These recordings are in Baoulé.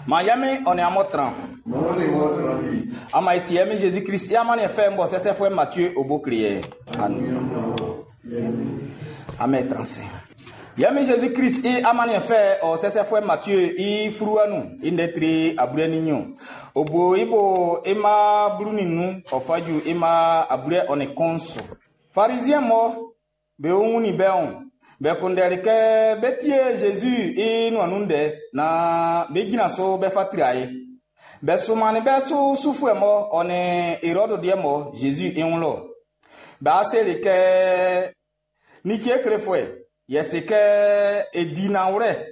Ma yami ɔne amɔtran. Mɔni wɔtran bi. Ama eti yɛmi Jésus Christ i amani fɛ mbɔ sɛsɛfɔɛ Matthieu obo kliɛ. Amen transe. Yɛmi Jésus Christ i amani fɛ ɔ sɛsɛfɔɛ Matthieu i furuwanu i ndɛtri aburɛ ni nyo. Obo ibo ima bulu ninu ɔfaju ima aburɛ ɔne kɔnso. Pharisien mɔ be ohun ni bɛn bɛ kundɛri kɛ bɛ tie Jésus i nuanu dɛ na bɛ gyina so bɛ fa tiri a ye. Bɛ sumani bɛ so sufuɛ mɔ ɔne Hérode deɛ mɔ Jésus i ŋun lɔ. Bɛ aseli kɛ nitsie klefuɛ yɛsi kɛ edinawurɛ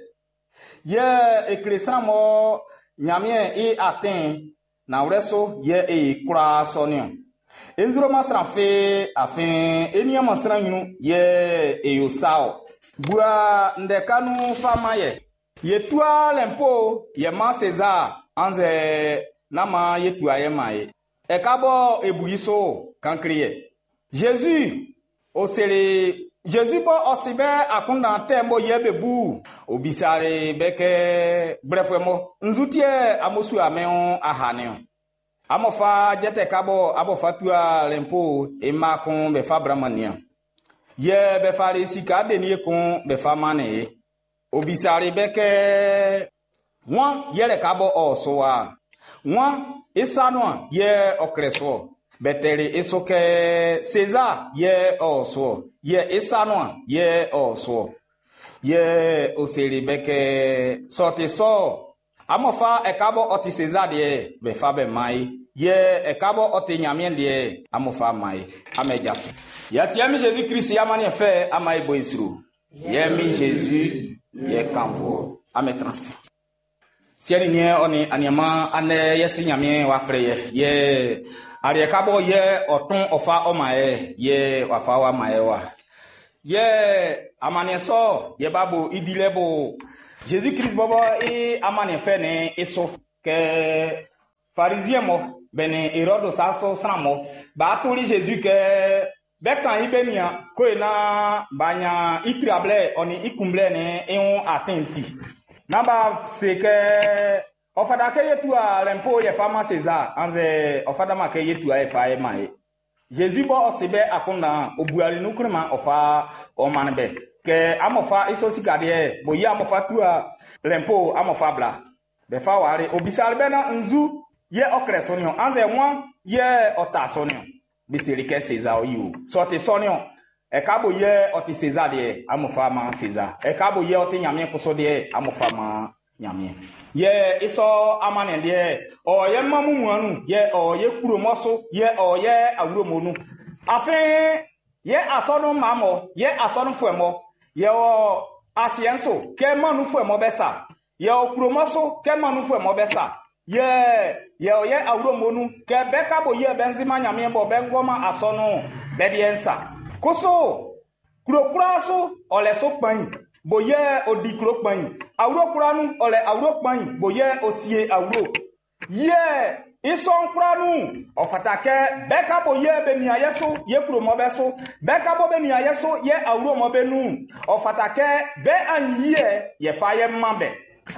yɛ ekele sran mɔ Ɲamiɛn i atɛn nawurɛ so yɛ e kura sɔniɔ. Enzuroma sran fe afin eniama sran ɲinu yɛ eyo sao. Bua ndɛkanu fama yɛ. Yetua lɛnpo yɛ ma César anzɛ nama yetua yɛ ma ye. Ɛka bɔ ebuyi so kankiri yɛ. Jésus osele Jésus bɔ ɔsi bɛ akunda tɛ mbɔ yɛ be bu obisare bɛ kɛ gblɛfɛ mɔ nzutiɛ amosu amɛwo ahaniɔ. Amɔfa jɛtɛ kabɔ abɔfa tua lɛnpo ema kun bɛ fa bramania. Yɛ bɛ fa le sika denie kun bɛ fa mane ye. Obisare bɛ kɛ wọn yɛlɛ kabɔ ɔsɔ wa. Wọn isanua yɛ ɔklɛ soɔ. Bɛtɛli eso kɛ César yɛ ɔsɔ yɛ isanua yɛ ɔsɔ. Yɛ osele bɛ kɛ sɔti sɔ. Amɔfa ɛkabɔ ɔti César deɛ bɛ fa bɛ ma ye. Yɛ ɛkabɔ ɔti Ɲamiɛn deɛ amɔfa ma ye. Amɛ jaso. Yatiɛmi Jésus Christ yamani fɛ ama ebo isuru. Yɛmi Jésus yɛ kanfo. Amɛ transi. Siɛni niɛ ɔni aniama anɛ yɛsi Ɲamiɛn wa frɛ yɛ yɛ ariɛ kabɔ yɛ ɔtún ɔfa ɔma yɛ yɛ wafa wa ma yɛ wa. Yɛ amaniɛ sɔ yɛ ba bo idilɛ bo Jésus Christ bɔbɔ i amaniɛ fɛ ni iso kɛ pharisien mɔ bɛni Hérode sa so sran mɔ ba toli Jésus kɛ bɛ kan i bɛ nia ko ye na ba nya i tirablɛ ɔni i kunblɛ ni i ŋun atin ti. N'a ba se kɛ ɔfada kɛ yetua lɛnpo yɛ fa ma César anzɛ ɔfada ma kɛ yetua yɛ fa yɛ ma ye. Jésus bɔ ɔsi bɛ akunda obuali nukuri ma ɔfa ɔmani bɛ kɛ amɔfa iso sika deɛ bo yi amɔfa tua lɛnpo amɔfa bla bɛfa wari obisali bɛ na nzu yɛ ɔklɛ sɔniɔ anzɛ wọn yɛ ɔta sɔniɔ biseli kɛ César yi o sɔti sɔniɔ ɛka bo yɛ ɔti César deɛ amɔfa ma César ɛka bo yɛ ɔti Ɲamiɛn kosɔ deɛ amɔfa ma Ɲamiɛn yɛ isɔ amani deɛ ɔyɛ mamu muanu yɛ ɔyɛ kuromɔso yɛ ɔyɛ awuromonu afin yɛ asɔnu mamɔ yɛ asɔnu fuɛmɔ yɛ wɔ asiɛ nso kɛ manu fuɛmɔ bɛ sa yɛ wɔ kuromɔso kɛ manu fuɛmɔ bɛ sa yɛ yɛ ɔyɛ awuromonu kɛ bɛ ka bo yɛ bɛ nzima Ɲamiɛn bɔ bɛ ŋgɔma asɔnu bɛ deɛ nsa koso kurokura so ɔlɛ so kpain bo yɛ odi kuro kpain awuro kura nu ɔlɛ awuro kpain bo yɛ osie awuro yɛ isɔnkura nu ɔfata kɛ bɛɛ ka bo yɛ bɛ nia yɛ so yɛ kuromɔ bɛ so bɛɛ ka bɔ bɛ nia yɛ so yɛ awuro bɛ nu ɔfata kɛ bɛɛ an yɛ yɛ fa yɛ ma bɛ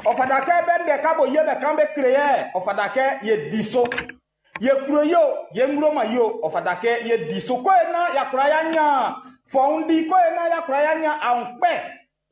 ɔfata kɛ bɛ ndɛ ka bo yɛ bɛ kan bɛ kile yɛ ɔfata kɛ yɛ di so yɛ kuro yi o yɛ ŋloma yi o ɔfata kɛ yɛ di so ko ye na yakura ya nya fɔŋdi ko ye na yakura ya nya aŋkpɛ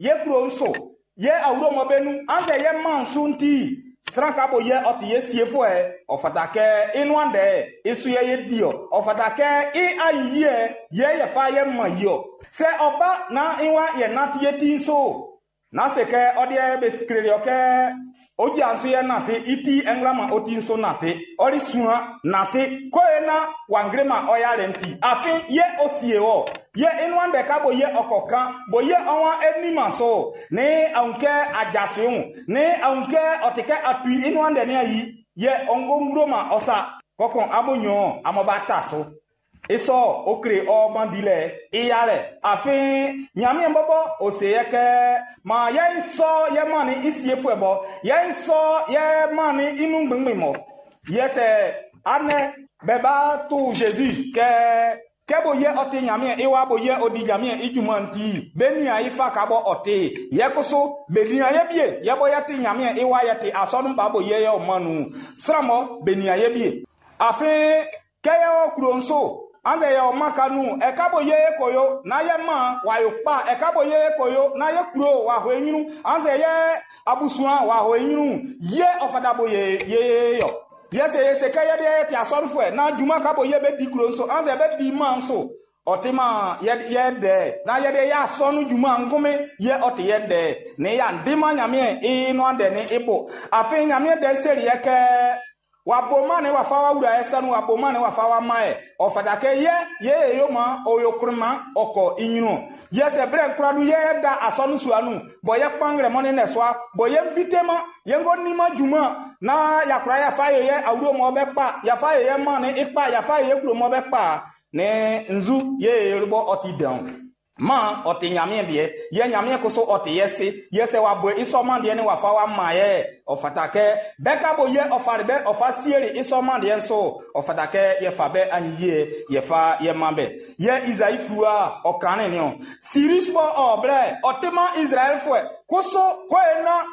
yɛ kuro nso yɛ awuro mɔ bɛ nu anzɛ yɛ mansu ŋuti sran ka bo yɛ ɔti yɛ sie fo yɛ ɔfata kɛ inua dɛ isu yɛ yɛ di yɔ ɔfata kɛ i ayi yɛ yɛ yɛ fa yɛ ma yɔ sɛ ɔba na iwa yɛ nati yɛ ti so na se kɛ ɔdeɛ bɛ kele yɔ kɛ odzi nso yɛ nate iti ɛŋlama oti nso nate ɔli sua nate ko ye na wangrema ɔya le ŋuti afi yɛ osie wɔ yɛ inua ɖe ka bo yɛ ɔkɔ kan bo yɛ ɔwa enima so ne aŋukɛ adzasu ne aŋukɛ ɔtikɛ atui inua ɖe ne ayi yɛ ɔŋgoŋdoma ɔsa kɔkɔn abonyɔ amɔba ta so isɔ okre ɔmɔdi lɛ iyalɛ afi Ɲamiɛn bɔbɔ ose yɛ kɛ ma yɛ nsɔ yɛ ma ni isie fue bɔ yɛ nsɔ yɛ ma ni inu gbɛngbɛn mɔ yɛ sɛ anɛ bɛ ba tu Jésus kɛ Kɛ bo yɛ ɔ ti Ɲanmiɛn i wa bo yɛ ɔ di Ɲanmiɛn i junman'n ti, be nian i fa ka bɔ ɔ ti. Yɛ kusu, be nian ye bie, yɛ bɔ yɛ ti Ɲanmiɛn i wa yɛ ti asɔnun ba bo yɛ yɛ ɔ man nun. Sran mɔ be nian ye bie. Afin, kɛ yɛ ɔ kulo nso, anzɛ yɛ ɔ man ka nun, ɛka bo yɛ e ko yo, na yɛ man wa yo kpa, ɛka bo yɛ e ko yo, na yɛ kulo wa ho e ɲrun, anzɛ yɛ abusua wa ho e ɲrun, yɛ ɔ fata bo yɛ ye yɔ. Yɛ sɛ yɛ sɛ kɛ yɛ deɛ ti asɔrefoɔ na dwuma ka bo yɛ bɛ di kuro nso anzɛ bɛ di man so ɔte ma yɛ yɛ dɛ na yɛ deɛ yɛ asɔnu dwuma nkome yɛ ɔte yɛ dɛ ne yɛ andi ma Nyameɛ i no adɛ ne ibo afei Nyameɛ dɛ seri yɛ kɛ waboma ne wafa wa wura ɛsɛ no waboma ne wafa wa ma yɛ ɔfata kɛ yɛ yɛ yɛ yo ma ɔyɔ kuruma ɔkɔ inyunu yɛ sɛ brɛ nkura do yɛ da asɔnu sua nu bɔn yɛ kpangrɛ mɔ ne nɛsua bɔn yɛ nvite ma yɛ ŋgɔ nima dwuma na yakura yafa yɛ yɛ awuro mɔ bɛ kpa yafa yɛ yɛ ma ne ikpa yafa yɛ yɛ kuro mɔ bɛ kpa ne nzu yɛ yɛ bɔ ɔti dɛn ma ɔte Nyameɛ deɛ yɛ Nyameɛ koso ɔte yɛ se yɛ sɛ wabɔ isɔma deɛ ne wafa wa ma yɛ ɔfata kɛ bɛka bo yɛ ɔfare bɛ ɔfa siere isɔma deɛ nso ɔfata kɛ yɛfa bɛ anyiyie yɛfa yɛ ma bɛ yɛ Isaïe fluwa ɔkane ne o Cyrus bɔ ɔblɛ ɔte ma Israelfoɔ koso koe na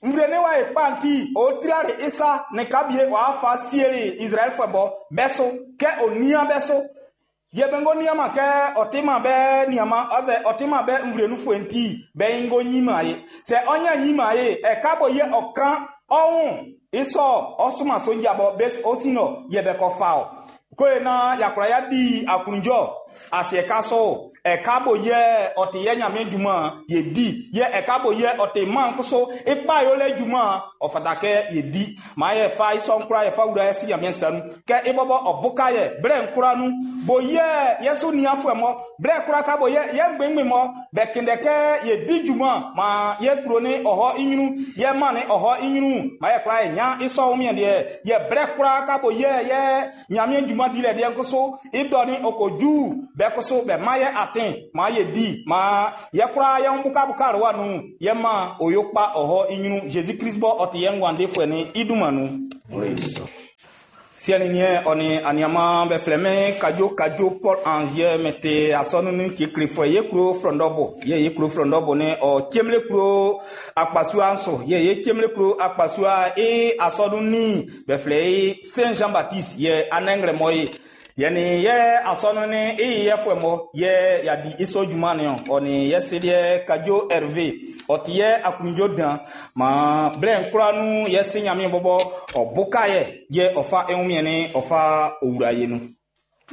nvre ne wa ekpanti o triare isa ne kabie wa fa siere Israelfoɔ bɔ bɛ so kɛ onia bɛ so yɛbɛngo nneɛma kɛ ɔtema bɛ nneɛma ɔsɛ ɔtema bɛ nvurenufoɔ nti bɛ ngo nyima ye sɛ ɔnya nyima ye ɛka bɔ yɛ ɔka ɔho isɔ ɔsoma sonja bɔ bɛ osi nɔ yɛbɛ kɔ fa o koye na yakura ya di akunjɔ asiɛ ka so ɛka bo yɛ ɔte yɛ Nyame dwuma yɛ di yɛ ɛka bo yɛ ɔte man so ikpa yɛ lɛ dwuma ɔfata kɛ yɛ di maa yɛ fa isɔ nkura yɛ fa wura yɛ si Nyame nsa nu kɛ ibɔbɔ ɔbuka yɛ brɛ nkura nu bo yɛ yɛ so niafo mɔ brɛ kura ka bo yɛ yɛ ngbengbe mɔ bɛ kende kɛ yɛ di dwuma ma yɛ kuro ne ɔhɔ inyunu yɛ ma ne ɔhɔ inyunu ma yɛ kura yɛ nya isɔ omiɛ deɛ yɛ brɛ kura ka bo yɛ yɛ Nyame dwuma di lɛ deɛ nkoso idɔ ne okoju bɛ koso bɛ ma yɛ aten ma yɛ di ma yɛ kura yɛ bukabuka wa nu yɛ ma oyo kpa ɔhɔ inyunu Jésus Christ bɔ ɔte yɛ ngwande fɛ ni iduma nu. Siɛni niɛ ɔni aniama bɛ filɛ mɛ kadzo kadzo Paul Angier mɛ te asɔnu ni kekle fɔ ye kuro frɔndɔbo ye ye kuro frɔndɔbo ni ɔ tiemle kuro akpasua nso ye ye tiemle kuro akpasua e asɔnu ni bɛ filɛ ye Saint Jean Baptiste yɛ anɛngrɛ mɔ ye yɛni yɛ asɔnu ni e yɛ fɔ mɔ yɛ yadi isɔ juma ni ɔni yɛ sedeɛ kadzo Hervé ɔti yɛ akundzo dan ma blɛ nkura nu yɛ se Nyame bɔbɔ ɔbuka yɛ yɛ ɔfa eŋumiɛ ni ɔfa owura ye nu.